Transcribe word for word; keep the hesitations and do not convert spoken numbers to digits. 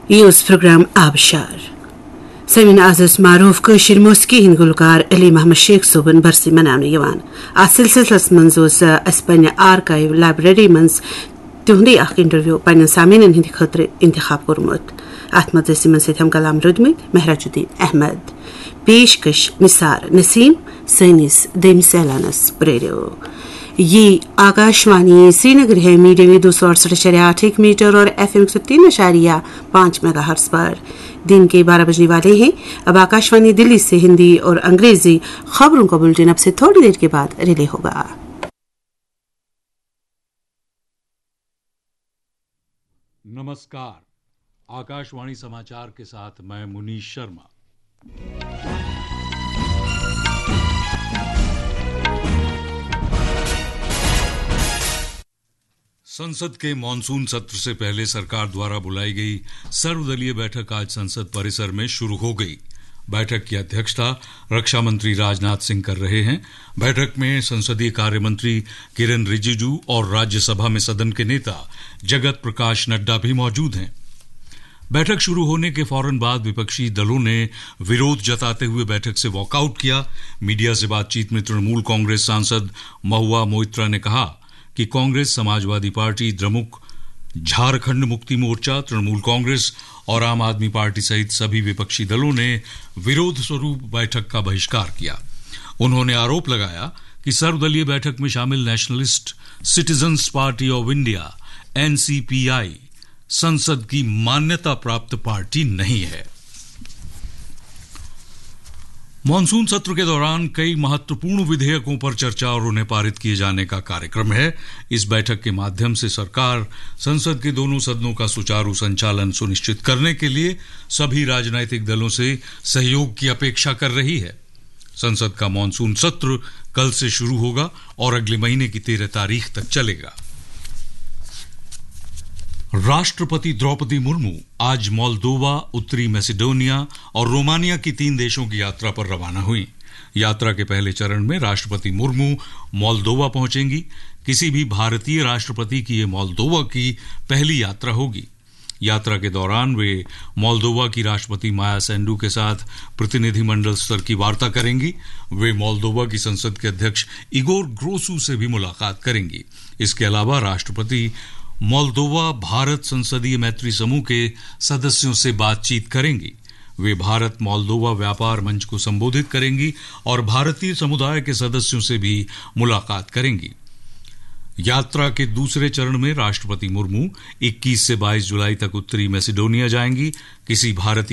یہِ اوس پروگرام آبشار۔ سٲمیٖن، از اوس معروٗف کٲشِر موسیقی ہٕنٛدۍ گلوکار علی محمد شیخ صٲبُن برسی مناونہٕ یِوان۔ اتھ سلسلس منٛز اوس، آ، اسہِ پننہِ آرکایو لائبریری منٛز تِہُنٛدُے اکھ انٹرویو پننٮ۪ن سامعیٖنن ہٕنٛدِ خٲطرٕ انتخاب کوٚرمُت۔ اتھ منٛز ٲسۍ یِمن سۭتۍ ہم کلام روٗدمٕتۍ مہراج الدین احمد۔ پیشکش نثار نسیم۔ سٲنِس دوٚیمِس اعلانس پرٛٲرِو۔ یہ آکاشوانی سرینگر ہے، میڈیم ویو دو سو اڑسٹھ اشاریہ آٹھ ایک میٹر اور ایف ایم ایک سو تین اشاریہ پانچ میگا ہرٹز پر۔ دن کے بارہ بجنے والے ہیں۔ اب آکاشوانی دلی سے ہندی اور انگریزی خبروں کا بلٹن اب سے تھوڑی دیر کے بعد ریلے ہوگا۔ नमस्कार। आकाशवाणी समाचार के साथ मैं मुनीश शर्मा। संसद के मॉनसून सत्र से पहले सरकार द्वारा बुलाई गई सर्वदलीय बैठक आज संसद परिसर में शुरू हो गई। बैठक की अध्यक्षता रक्षा मंत्री राजनाथ सिंह कर रहे हैं। बैठक में संसदीय कार्य मंत्री किरेन रिजिजू और राज्यसभा में सदन के नेता जगत प्रकाश नड्डा भी मौजूद हैं। बैठक शुरू होने के फौरन बाद विपक्षी दलों ने विरोध जताते हुए बैठक से वॉकआउट किया। मीडिया से बातचीत में तृणमूल कांग्रेस सांसद महुआ मोइत्रा ने कहा कि कांग्रेस, समाजवादी पार्टी, द्रमुक, झारखंड मुक्ति मोर्चा, तृणमूल कांग्रेस और आम आदमी पार्टी सहित सभी विपक्षी दलों ने विरोध स्वरूप बैठक का बहिष्कार किया। उन्होंने आरोप लगाया कि सर्वदलीय बैठक में शामिल nationalist citizens party of India, NCPI, संसद की मान्यता प्राप्त पार्टी नहीं है। मॉनसून सत्र के दौरान कई महत्वपूर्ण विधेयकों पर चर्चा और उन्हें पारित किए जाने का कार्यक्रम है। इस बैठक के माध्यम से सरकार संसद के दोनों सदनों का सुचारू संचालन सुनिश्चित करने के लिए सभी राजनैतिक दलों से सहयोग की अपेक्षा कर रही है। संसद का मॉनसून सत्र कल से शुरू होगा और अगले महीने की तेरह तारीख तक चलेगा। राष्ट्रपति द्रौपदी मुर्मू आज मोल्दोवा, उत्तरी मैसेडोनिया और रोमानिया की तीन देशों की यात्रा पर रवाना हुई। यात्रा के पहले चरण में राष्ट्रपति मुर्मू मोल्दोवा पहुंचेंगी। किसी भी भारतीय राष्ट्रपति की ये मोल्दोवा की पहली यात्रा होगी। यात्रा के दौरान वे मोल्दोवा की राष्ट्रपति माया सैंडू के साथ प्रतिनिधिमंडल स्तर की वार्ता करेंगी। वे मोल्दोवा की संसद के अध्यक्ष इगोर ग्रोसू से भी मुलाकात करेंगी। इसके अलावा राष्ट्रपति मोल्दोवा भारत संसदीय मैत्री समूह के सदस्यों से बातचीत करेंगी। वे भारत मोल्दोवा व्यापार मंच को संबोधित करेंगी और भारतीय समुदाय के सदस्यों से भी मुलाकात करेंगी। यात्रा के दूसरे चरण में राष्ट्रपति मुर्मू इक्कीस से बाईस जुलाई तक उत्तरी मैसेडोनिया जाएंगी। किसी भारतीय